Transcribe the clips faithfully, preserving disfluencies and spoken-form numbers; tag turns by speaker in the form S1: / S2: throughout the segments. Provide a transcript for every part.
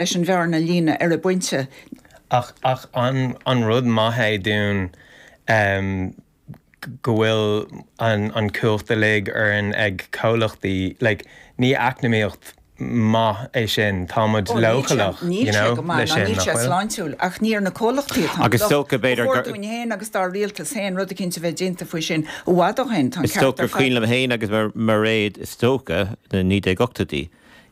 S1: Leis an bhearna a líonadh ar an bpointe.
S2: Ach ach an an rud maith é dúinn um, go bhfuil an an cumhacht uilig orainn ag comhlachtaí, like, ní eacnamaíocht maith é sin, tá muid leochaileach, you know, leis sin,
S1: Níl
S2: nach
S1: sé
S2: bhfuil?
S1: sláintiúil, ach ní ar na comhlachtaí atá an
S3: Agus
S1: locht.
S3: is dócha b'fhéidir
S1: Ba chóir
S3: gur-
S1: dúinn féin agus dár rialtas féin rud eicínt a bheith déanta faoi sin i bhfad ó shin, tá an
S3: Is
S1: ceart
S3: dócha
S1: ar
S3: gur
S1: fad.
S3: cuimhin liom féin agus mar Mairéad, is dócha, na naoi déag ochtóidí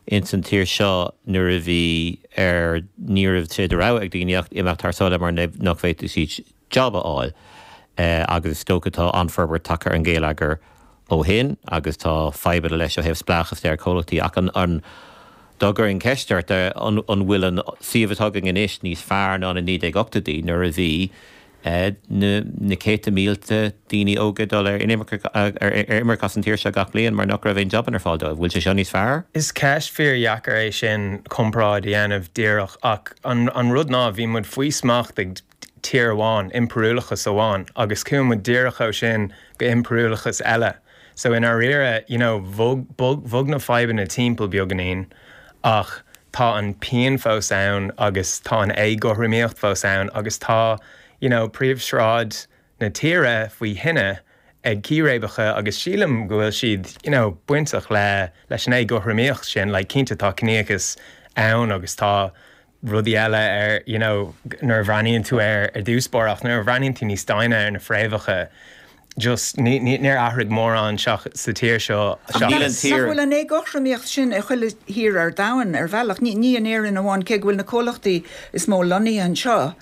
S3: ins an tír seo nuair a bhí ar ní raibh sé de rogha ag daoine ach imeacht thar sáile mar nach bhféadfadh siad job a fháil. Eh, agus is dócha tá an-fhorbairt tagtha ar an gheilleagar ó shin agus tá fadhbanna leis ó thaobh spleáchas ar chomhlachtaí ach an an dá gcuirfinn ceist ort eh, an an bhfuil an suíomh atá againn anois níos fearr ná na naoi déag ochtóidí nuair a bhí eh, na na céadta mílte daoine óga dul ar inimirce ar ar imirce as an tír seo gach bliain mar nach raibh aon jobanna ar fáil dóibh. Bhfuil sé seo níos fearr?
S2: Is ceist fíordheacair é sin comparáid a dhéanamh díreach ach an, an rud ná bhí muid faoi smacht ag tír amháin, impiriúlachas amháin, agus chuaigh muid díreach ó sin go impiriúlachas eile. So i ndáiríre, you know, bhog, bhog, bhog na fadhbanna timpeall beagáinín ach tá an pian fós ann agus tá an éagothromaíocht fós ann agus tá, you know, príomhshráid na tíre faoi thine ag círéibeacha agus sílim go bhfuil siad, you know, bainteach le leis an éagothromaíocht sin, like, cinnte tá ciníochas ann agus tá rudaí eile ar, you know, nuair a bhreathnaíonn tú ar ar dtús báire ach nuair a bhreathnaíonn tú níos doimhne ar na fréamhacha, just ní ní níor athraigh mórán seach sa tír seo
S3: Níl an
S2: seachas
S3: tír-
S1: Nach bhfuil an éagothromaíocht sin i chuile thír ar domhan ar bhealach, ní ní in Éirinn amháin cé go bhfuil na comhlachtaí is mó lonnaithe anseo.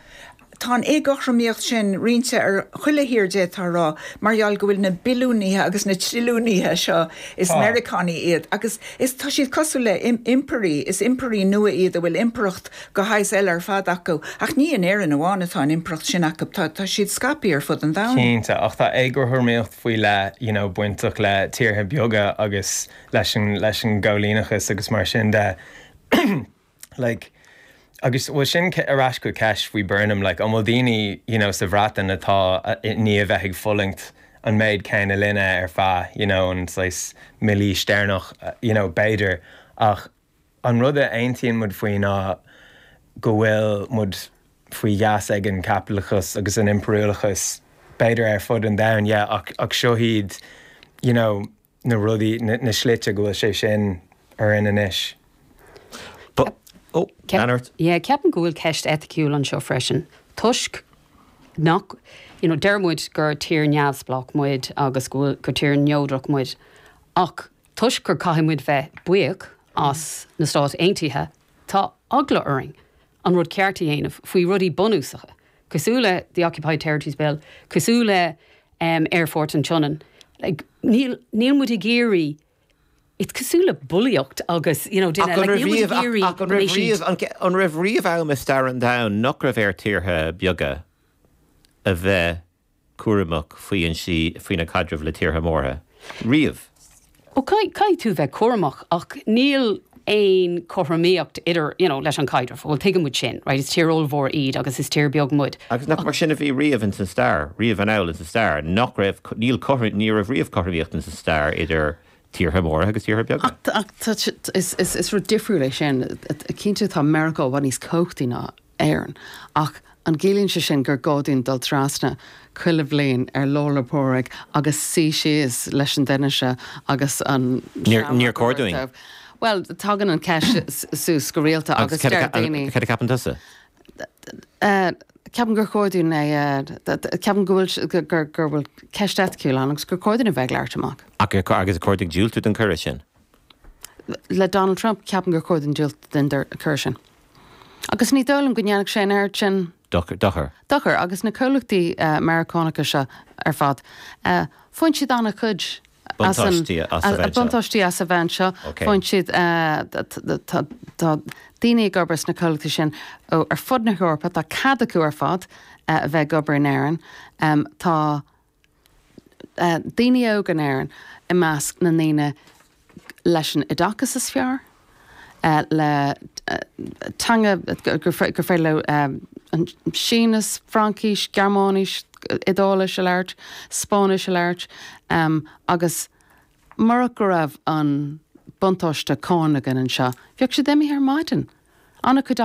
S1: Tá an éagothromaíocht sin roinnte ar chuile thír d'fhéadfá a rá, mar gheall go bhfuil na billiúnaithe agus na trilliúnaithe seo is
S2: Tá.
S1: Meiriceánaigh iad, agus is tá siad cosúil le im impirí, is impirí nua iad a bhfuil impireacht de shaghas eile ar fad acu, ach ní in Éirinn amháin atá an impireacht sin acu, tá tá siad scaipthe ar fud an domhain.
S2: Cinnte, ach tá éagothromaíocht faoi le you know, bainteach le tíortha beaga agus leis an leis an gcoilíneachas agus mar sin de like, agus bhfuil sin ar ais go ceist faoi Burnham, like, an bhfuil daoine you know, sa Bhreatain atá ní a bheith ag fulaingt an méid céanna linne ar feadh you know, an saghas mílaois deireanach you know, b'fhéidir ach an rud a aontaíonn muid faoi ná go bhfuil muid faoi gheasa ag an gcaipitleachas agus an impiriúlachas b'fhéidir ar fud an domhain yeah, ach, ach seo iad you know, na rudaí na, na slite go bhfuil sé sin orainn anois.
S3: But, oh,
S4: Ceap-
S3: Leonard.
S4: Yeah, ceapaim go bhfuil ceist eiticiúil anseo freisin. Toisc nach you know, deir muid gur tír neamhspleách muid agus go bhfuil gur tír neodrach muid. Ach toisc gur caithfidh muid bheith buíoch as na Stáit Aontaithe, tá eagla orainn an rud ceart a dhéanamh faoi rudaí bunúsacha. Cosúil le the Occupied Territories Bill, cosúil le um, Aerfort an tSionainn. Like, níl níl muid ag iarraidh It's cosúil le bulaíocht agus you know, duine,
S3: Ach an
S4: like, níl muid ag
S3: raibh
S4: iarraidh
S3: ach an
S4: go
S3: raibh
S4: mbeidh siad-
S3: riamh- an ce- an raibh riamh am i stair an domhain nach raibh ar tíortha beaga a bheith cúramach faoi an sí faoina caidreamh le tíortha móra. Riamh.
S4: Ó caithfidh tú bheith cúramach ach níl aon chothromaíocht idir you know, leis an caidreamh, Well tuigeann muid sin, right? Is tír ollmhór iad agus is tír beag muid.
S3: Agus nach mar sin a bhí riamh in san stair, riamh anall in san stair, nach raibh níl cothrom ní raibh riamh cothromaíocht in san stair idir tíortha móra agus tíortha beaga.
S5: Ach ach tá sé- is is is rud difriúil é sin cinnte tá Meiriceá i bhfad níos cumhachtaí ná Éirinn ach an gciallaíonn sé sin gur gá dúinn dul trasna chuile bhliain ar Lá 'le Pádraig agus suí síos leis an duine seo agus an
S3: Níor- níor chóir dúinn.
S5: Well, tagann an ceist suas go rialta agus deir daoine.
S3: Cad a cheapann tusa?
S5: Uh, Ceapaim gur chóir dúinn é ceapaim go bhfuil gur gur gur bhfuil ceist eiticiúil ann agus gur chóir dúinn a bheith ag labhairt amach.
S3: Ach agus chóir dúinn diúltú don chuireadh sin.
S5: Le Donald Trump ceapaim gur chóir dúinn diúltú don chuireadh sin. Agus ní dóigh liom go ndéanfadh sé an oiread sin
S3: Dochar dochar.
S5: dochar agus na comhlachtaí uh, Meiriceánacha seo ar fad. Uh, Faigheann siad an-chuid as an-
S3: Buntáistí as a
S5: a-
S3: bheith anseo.
S5: buntáistí as a bheith anseo.
S3: Ok.
S5: Faigheann siad uh, tá tá daoine ag obair sna comhlachtaí sin ó ar fud na hEorpa tá cead acu ar fad uh, a bheith ag obair in Éirinn. Um, tá uh, daoine óga in Éirinn i measc na ndaoine leis an oideachas is fearr. Uh, le uh, teanga gur gur féidir leo um, an Sínis, Fraincis, Gearmáinis, Iodáilis a labhairt, Spáinnis a labhairt, um, agus mura go raibh an buntáiste cánach againn anseo, bheadh siad imithe ar maidin. An-chuid